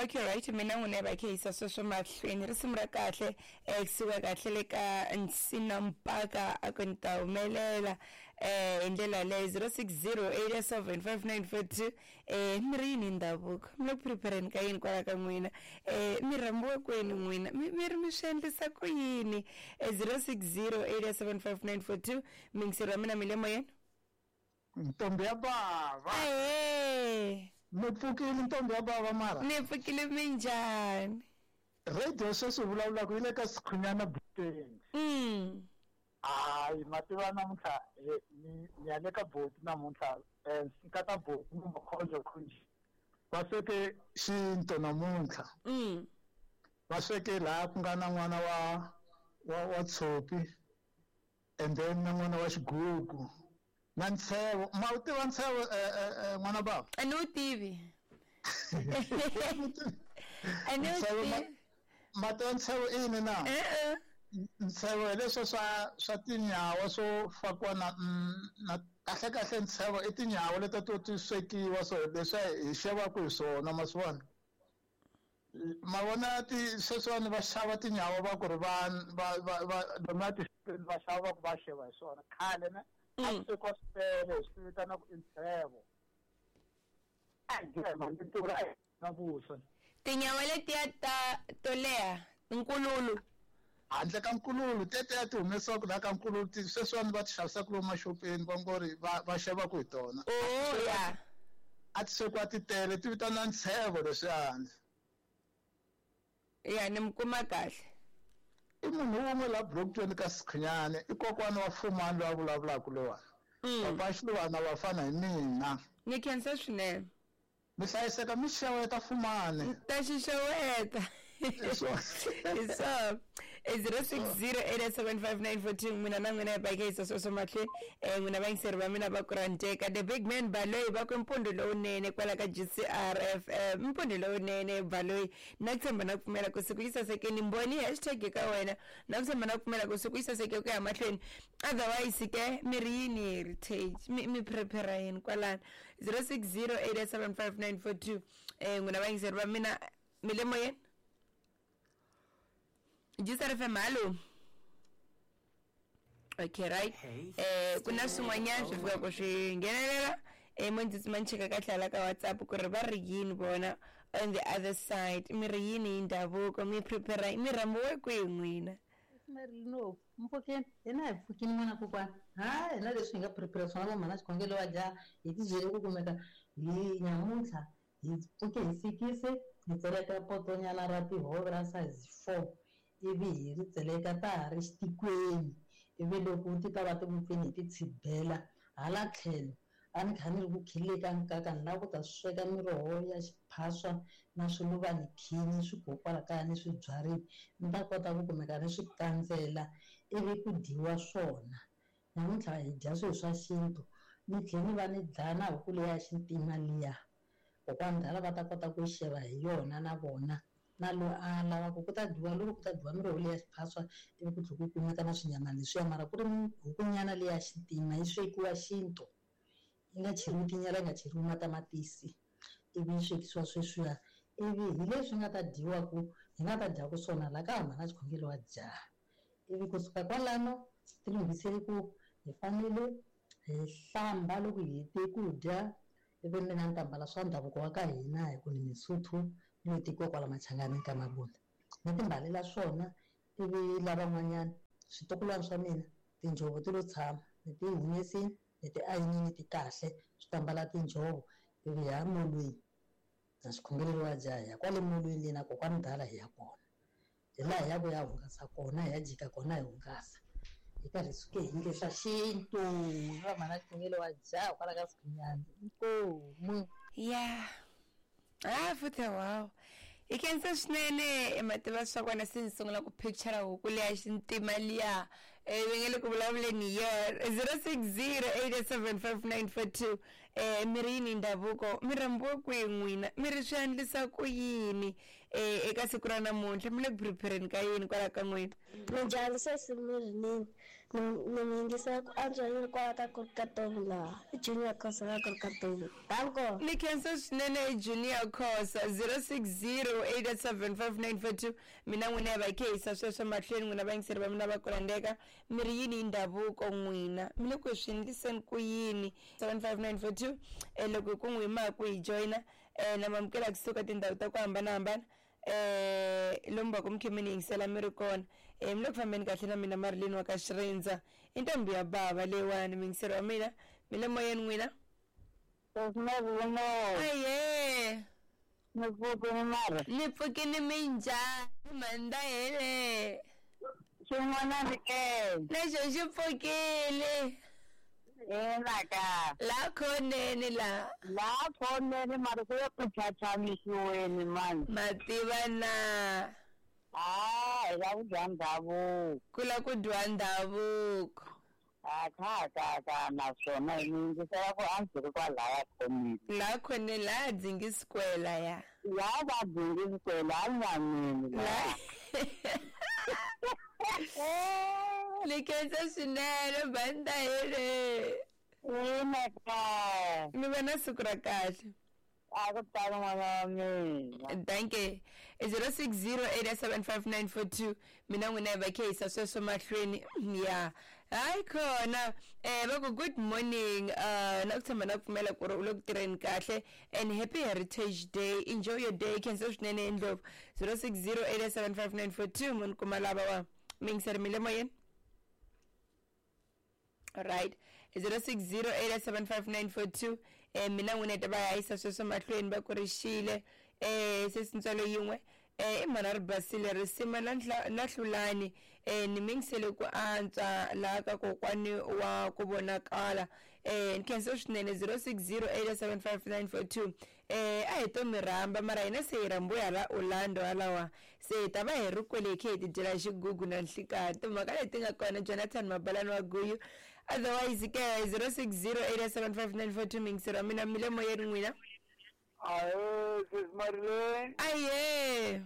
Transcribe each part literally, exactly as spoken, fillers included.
Okay, right, mina n'wina va khe yisa sweswo mahlweni risimu ra kahle eh kusuka kahle le ka Nsina Mpaka a ku ni ta humelela eh hi ndlela leyo zero six zero eight seven five nine four two. Eh mi ri yini ndhavuko, mi le ku prepareni ka yini kwala ka n'wina, eh mi rhambiwe kwini n'wina, mi mi ri mi swi endlisa ku yini? Eh zero six zero eight seven five nine four two. Mingiseri wa mina mi le moyeni. Ntombi ya bava. Ahee. Mi pfukile ntombi ya bava mara? Ni pfukile, minjhani? Radio sweswi vulavulaka yi le ka Sikhunyana Boteng. Mm. Hayi, mativa namuntlha ni ni ya le ka boti namuntlha, eh nkata boti ni makhonjo khonji. Va sweke xinto namuntlha. Mm. Va sweke laha ku nga na n'wana wa wa wa Tshopi and then na n'wana wa Xigugu. Na Ntshebo, ma u tiva Ntshebo eh n'wana baba? A ni wu tivi. A ni wu tivi. Ma tiva Ntshebo i yini na? E-e. Ntshebo hi leswi swa swa tinyawa swo fakiwa na na kahle kahle ntshebo i tinyawa leti to ti swekiwa, so leswi hi xavaka hi swona ma swi vona. Ma vona ti sweswiwani va xava tinyawa va ku ri va va va va lomu ti va xava va ku va xeva hi swona khale ne. A swi swekiwa swipele swi vitanaku i ntshebo. Na vuswa. Tinyawa letiya ta to leha nkululu. Handle ka nkululu tetiya ti humesiwaka laha ka nkululu ti sweswiwani va ti xavisaka lomu maxopeni va ngo ri va va xavaka hi tona. Oh ya. A ti swekiwa ti tele ti vitaniwa ntshebo leswiyani. Ya ni mi kuma kahle. I munhu wun'we laha Blockton ka Sikhunyana, i kokwana wa Fumani loyi a vulavulaka loyiwani. Papa Xilwana va fana hi mina. Ni khensa swinene. Mi hlayiseka mi xeweta Fumani. Ta xi xeweta. Hi swona. zero six zero eight seven five nine four two. N'wina na n'wina hi baka yisa sweswo mahlweni. Eh n'wina vayingiseri va mina va ku rhandzeka. The big man Baloyi va ku mpundzu lowunene kwala ka G C R F M. Mpundzu lowunene Baloyi. Na ku tshemba na ku pfumela ku siku yi sasekeni mboni hashtag ka wena. Na ku tshemba na ku pfumela ku siku yi saseke ku ya mahlweni. Otherwise ke mi ri yini heritage? Mi mi prepare yini kwalano? zero six zero eight seven five nine four two. Eh n'wina vayingiseri va mina mi le moyeni. G C R F M, hallo. Okay, right. Eh kuna swin'wanyana swi fika ku swi nghenelela eh mo ndzi tsima ni cheka kahle hala ka WhatsApp ku ri va ri yini vona on the other side, mi ri yini hi ndhavuko, mi prepare mi rhambiwe kwihi n'wina? No, mpfukeni hina hi pfukini n'wana kokwana. Ha hina leswi hi nga prepare swona va mhana xikhongelo wa dya hi ti byele ku kumeka hi nyamuntlha hi pfuke hi sikisi hi tseleka potonyana ra tihove ra size four ivi hi ri tseleka ta ha ri xitikweni ivi loko ti ta va ti vupfini hi ti tshibela hala tlhelo a ni kha ni ri ku khileka nkaka ni lava ku ta sweka miroho ya xiphaswa na swiluvani khini swi kokwala kaya ni swi byarini ni ta kota ku kumeka ni swi kandzela ivi ku dyiwa swona. Namuntlha hi dya swilo swa xintu ni tlhela ni va ni dlaya na huku leya xintima liya kokwana ndala va ta kota ku xeva hi yona na vona na loyi a lavaka ku ta dyiwa loko ku ta dyiwa miroho leya xiphaswa ivi ku tlhela ku kumeka na swinyama leswiya mara ku ri hukunyana leya xintima yi swekiwa xintu yi nga cheriwi tinyala yi nga cheriwi matamatisi ivi yi swekisiwa sweswiya ivi hi leswi nga ta dyiwaku hi nga ta dyaku swona laha ka mhana xikhongelo wa dyaha ivi kusuka kwalano ti lunghisele ku hi fanele hi hlamba loko hi hete ku dya ivi mina ni ta mbala swa ndhavuko wa ka hina hi ku ni Misuthu ni yo tekiwa kwala Machangani ka Mabunda ni ti mbalela swona ivi lavan'wanyana switukulwana swa mina tinjhovo ti lo tshama ni ti humesini ni ti ayinini ti kahle swi ta mbala tinjhovo ivi hi ya molweni na xikhongelo wa dya hi ya kwale molweni le na kokwana dala hi ya kona hi laha hi ya ku ya hungasa kona hi ya jika kona hi hungasa hi karhi suke hi nge swa xintu va mhana xikhongelo wa dya kwala ka Sikhunyana inkomu ya ah futhi wow. I khensa swinene mativa swa kona se ni sungula ku picture huku leya xintima liya eh va nge le ku vulavuleni hi yona zero six zero eight seven five nine four two. um mi ri yini ndhavuko mi rhambiwe kwihi n'wina mi ri swi endlisa ku yini um eka siku ra namuntlha mi le ku prepareni ka yini kwala ka n'wina minjhani sesi mirinini ni ni mi yingisela ku antswa ni ri kwala ka Korkatomi laha i Junior Khosa ka Korkatomi danko ni khensa swinene Junior Khosa zero six zero eight seven five nine four two mina n'wina ya va khehisa sweswo mahlweni n'wina vayingiseri va mina va kulandeka mi ri yini hi ndhavuko n'wina mi le ku swi endliseni ku yini seven five nine four two um loko hi ku n'wi ma ku hi joyina um na mamukela kusuka tindhawu ta ku hambanahambana um lomu va ku mi khe mi ni yingisela mi ri kona um mi le ku fambeni kahle na mina Marilyn wa ka Xirindza i ntombi ya bava leyiwani muyingiseri wa mina mi le moyeni n'wina aye ni pfukini mara ni pfukini minjhani manda hele xin'wanani ke lexo xi pfukile ina ka la khoneni la la khoneni mara ku ya ku chachamisiweni mani mativa na a hi la ku dya ndhavuko ku la ku dyiwa ndhavuko a kha ka ka naswona hi mi yingisela ku a ndzi ri kwalaya khoneni la khoneni laha Dzingi Square laya la va Dzingi Square la nyameni la ni khensa swinene banda hele ina ka mi va na siku ra kahle a ku tali n'wana wa mina danke zero six zero eight seven five nine four two mina n'wina hi va khehisa sweswo mahlweni ya hayi khona um va ku good morning uh na ku tshemba na ku pfumela ku ri u le ku tirheni kahle and happy heritage day enjoy your day khensa swinene ndlopfu zero six zero eight seven five nine four two munhu kuma lava wa miyingiseri mi le moyeni right zero six zero eight seven five nine four two um mina n'wina hi ta va yisa sweswo mahlweni va ku ri xile um sesintswalo yin'we um i mhana ri basile risima na na hlulani um ni mingisele ku antswa laha ka kokwani wa ku vonakala um ni khensa swinene zero six zero eight seven five nine four two um a hi to mi rhamba mara hina se hi rhambiwe hala Orlando halawa se hi ta va hi ri kwele hi khe hi ti dyela xigugu na nhlikani timhaka leti nga kona Jonathan Mabalani wa Guyu otherwise ke zero six zero eight seven five nine four two mingisero wa mina mi le moyeni n'wina ahe sis Marilyn aye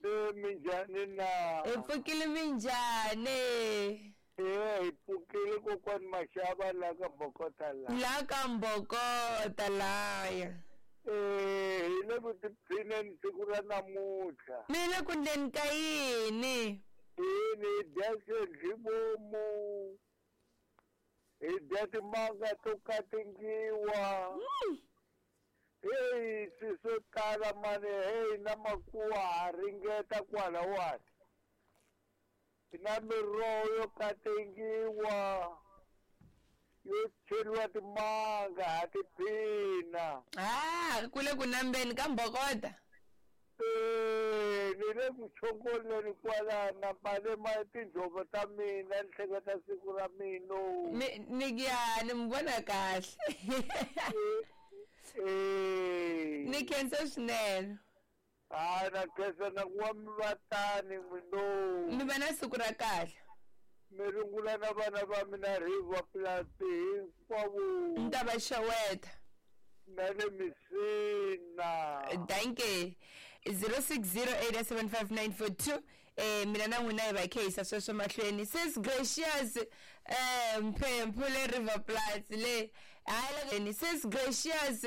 e minjhani na hi pfukile minjhani e hi pfukile kokwani Maxava la ka Mbokota la la ka Mbokota laya e hi le ku tiphineni siku ra namuntlha mi le ku ndleni ka yini yini hi dya xendlivomu hi dya timanga to katingiwa heyi swi swo tala mani heyi na makuwa ha ringeta kwalawani na miroho yo katingiwa yo cheriwa timanga ha tiphina ah ku le ku nambeni ka Mbokota e ni le ku chongoleni kwalana mbale ma tinjhovo ta mina ni hleketa siku ra mina ni ni ya ni mi vona kahle e ni khensa swinene hayi na khensa na ku va mi va tani n'wino mi va na siku ra kahle mi rungula na vana va mina River Plus hinkwavo ni ta va xeweta na le Messina danke zero six zero eight seven five nine four two eh mina na n'wina hi va khehisa sweswo mahlweni sis Gracious eh Mphemphu le River Plus le hayi sis Gracious